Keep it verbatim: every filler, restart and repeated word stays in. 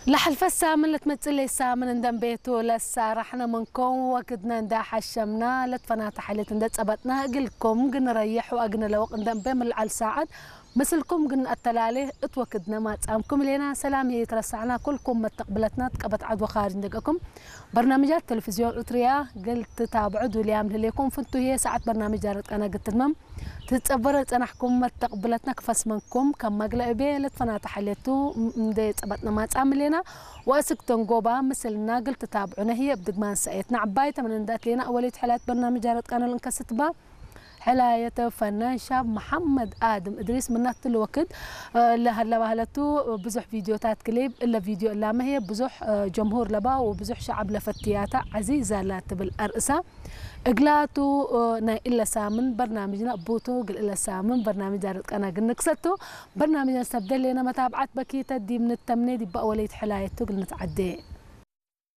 ለሐልፈ ሳምን ለትመጽእ ለሳምን እንደ እንቤቱ ለሳራሕነ ምንኩም ወክድነ እንደ ሐሸምና ለትፈናተ ሐሌት እንደ ጸበጥና እግልኩም ግን ረየሕ ወአግነ ለወቅ እንደ እንቤ ምልዓል ሳዐት ምስልኩም ግን አተላሌ እት ወክድነ ማጻምኩም ሌና ሰላም ይትረሳዕና ኩልኩም መተቅብለትና ትቀበት ዐድ ወኻርጅ እንደገኩም በርናምጃት ቴሌቪዝዮን እትርያ ግል ትታብዑ ዱልያም ህሌኩም ፍንቱ ህዬ ሳዐት በርናምጅ ጃረት ቀና ግትድመም ትጸበረ ጸናሕኩም መተቅብለትነ ክፈስመንኩም ከማግለ እቤ ለትፈናተ ሐሌቱ እንዴ ጸበጥነ ማጻም ሌና ወእስክ ተንጎባ ምስልና ግል ትታብዑነ ህዬ እብ ድግማን ሰእየትነ ዐባይ ተመን እንደ አትሌና አወሌት ሕላየት በርናምጅ ጃረት ቀና ልንከስትባ ሕላየተ ፈናን ሻብ መሐመድ አድም እድሪስ ምናት ለወክድ ለሀለ ባህለቱ ብዙሕ ቪዲዮታት ክሊብ እለ ቪዲዮ እላመ ህዬ ብዙሕ ጀምሁር ለባ ወብዙሕ ሸዐብ ለፈትያታ ዐዚዛ ላትብል አርእሳ እግላቱ ናይ እለ ሳምን በርናምጅነ እቡቱ እግል እለ ሳምን በርናምጅ ጃረት ቀና ግንክሰቱ በርናምጅነ ሰብ ደሌነ መታብዓት በኪተ ዲብ ንተምኔ ዲብ አወሌት ሕላየቱ እግል ንትዓዴ።